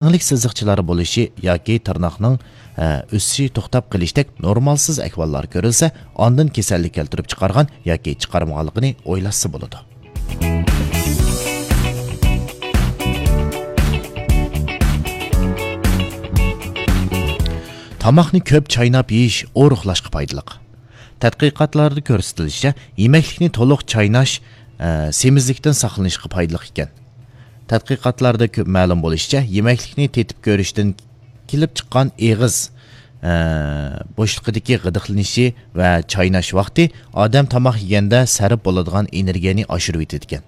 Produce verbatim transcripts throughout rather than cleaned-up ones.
رەڭلىك سىزىقچىلار بولۇشى ياكى تىرناقنىڭ، ئە، ئۆسۈشى توختاپ قېلىشتەك نورمالسىز ئەھۋاللار كۆرۈلسە، ئاندىن كېسەللىك كەلتۈرۈپ چىقارغان ياكى چىقارمىغانلىقىنى ئويلاشسا بولىدۇ. تاماقنى كۆپ چايناپ يېيىش ئورۇقلاشقا پايدىلىق. تەتقىقاتلاردا كۆرسىتىلىشىچە، يېمەكلىكنى تولۇق چايناش، ئە، سېمىزلىكتىن ساقلىنىشقا پايدىلىق ئىكەن. تەتقىقاتلاردا كۆپ مەلۇم بولۇشىچە، يېمەكلىكنى تېتىپ كۆرۈشتىن كېلىپ چىققان ئېغىز، ئە، بوشلۇقىدىكى غىدىقلىنىشى ۋە چايناش ۋاقتى ئادەم تاماق يېگەندە سەرپ بولىدىغان ئېنېرگىيەنى ئاشۇرۇۋېتىدىكەن.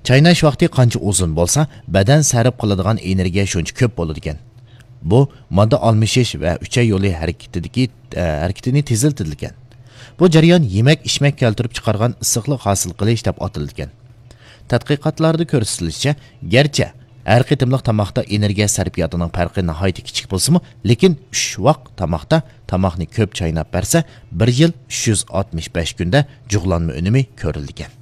چايناش ۋاقتى قانچە ئۇزۇن بولسا، بەدەن سەرپ قىلىدىغان ئېنېرگىيە شۇنچە كۆپ بولىدىكەن. بۇ ماددا ئالمىشىش ۋە ئۈچەي يولى ھەرىكىتىدىكى، ئە، ھەرىكىتىنى تېزلىتىدىكەن. بۇ جەريان يېمەك-ئىچمەك كەلتۈرۈپ چىقارغان ئىسسىقلىق ھاسىل قىلىش دەپ ئاتىلىدىكەن. تەتقىقاتلاردا كۆرسىتىلىشىچە، گەرچە ھەر قېتىملىق تاماقتا ئېنېرگىيە سەرپىياتىنىڭ پەرقى ناھايىتى كىچىك بولسىمۇ، لېكىن ئۈچ ۋاق تاماقتا تاماقنى كۆپ چايناپ بەرسە، بىر يىل ئۈچ يۈز ئاتمىش بەش كۈندە جۇغلانما ئۈنۈمى كۆرۈلىدىكەن.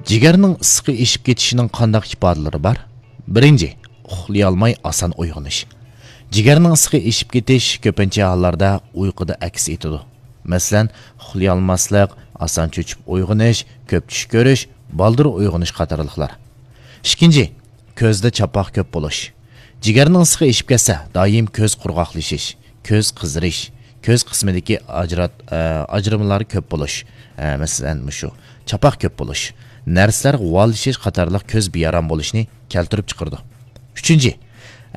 جىگەرنىڭ ئىسسىقى ئېشىپ كېتىشىنىڭ قانداق ئىپادىلىرى بار؟ بىرىنچى، ئۇخلىيالماي ئاسان ئويغىنىش. جىگەرنىڭ ئىسسىقى ئېشىپ كېتىش كۆپىنچە ھاللاردا ئۇيقۇدا ئەكس ئېتىدۇ. مەسىلەن، ئۇخلىيالماسلىق، ئاسان چۆچۈپ ئويغىنىش، كۆپ چۈش كۆرۈش، بالدۇر ئويغىنىش قاتارلىقلار. ئىككىنچى، كۆزدە چاپاق كۆپ بولۇش. جىگەرنىڭ ئىسسىقى ئېشىپ كەتسە، دائىم كۆز قۇرغاقلىشىش، كۆز قىزىرىش، كۆز قىسمىدىكى ئاجرات-، ئە، ئاجرىمىلار كۆپ بولۇش، ئە، مەسىلەن، مۇشۇ چاپاق كۆپ بولۇش، نەرسىلەر غۇۋالىشىش قاتارلىق كۆز بىئارام بولۇشنى كەلتۈرۈپ چىقىرىدۇ. ئۈچىنچى،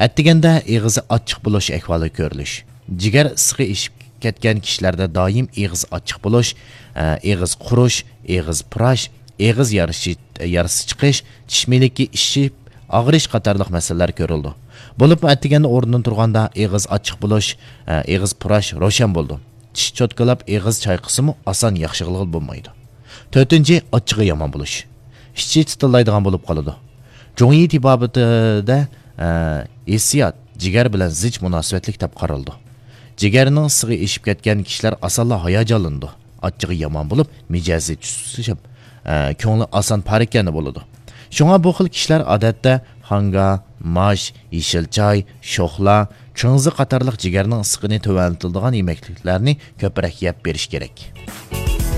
ئەتىگەندە ئېغىزى ئاچچىق بولۇش ئەھۋالى كۆرۈلۈش. جىگەر ئىسسىقى ئېشىپ كەتكەن كىشىلەردە دائىم ئېغىز ئاچچىق بولۇش، ئە، ئېغىز قۇرۇش، ئېغىز پۇراش، ئېغىز يارىسى، يارىسى چىقىش، چىش مىلىكى ئىششىپ ئاغرىش قاتارلىق مەسىلىلەر كۆرۈلىدۇ. بولۇپمۇ ئەتىگەندە ئورنىدىن تۇرغاندا ئېغىز ئاچچىق بولۇش، ئە، ئېغىز پۇراش روشەن بولىدۇ. چىش چوتكىلاپ ئېغىز چايقىسىمۇ ئاسان ياخشىلىغىلى بولمايدۇ. تۆتىنچى، ئاچچىقى يامان بولۇش. ئىچى تىتىلدايدىغان بولۇپ قالىدۇ. جۇڭيى تېبابىتىدە، ئە، ھېسسىيات جىگەر بىلەن زىچ مۇناسىۋەتلىك دەپ قارىلىدۇ. جىگەرنىڭ ئىسسىقى ئېشىپ كەتكەن كىشىلەر ئاسانلا ھاياجانلىنىدۇ. ئاچچىقى يامان بولۇپ، مىجەزى تۈسلىشىپ، ئە، كۆڭلى ئاسان پارىكەندە بولىدۇ. شۇڭا بۇ خىل كىشىلەر ئادەتتە خاڭگا، ماش، يېشىل چاي، شوخلا، چىڭزى قاتارلىق جىگەرنىڭ ئىسسىقىنى تۆۋەنلىتىدىغان يېمەكلىكلەرنى كۆپرەك يەپ بېرىش كېرەك.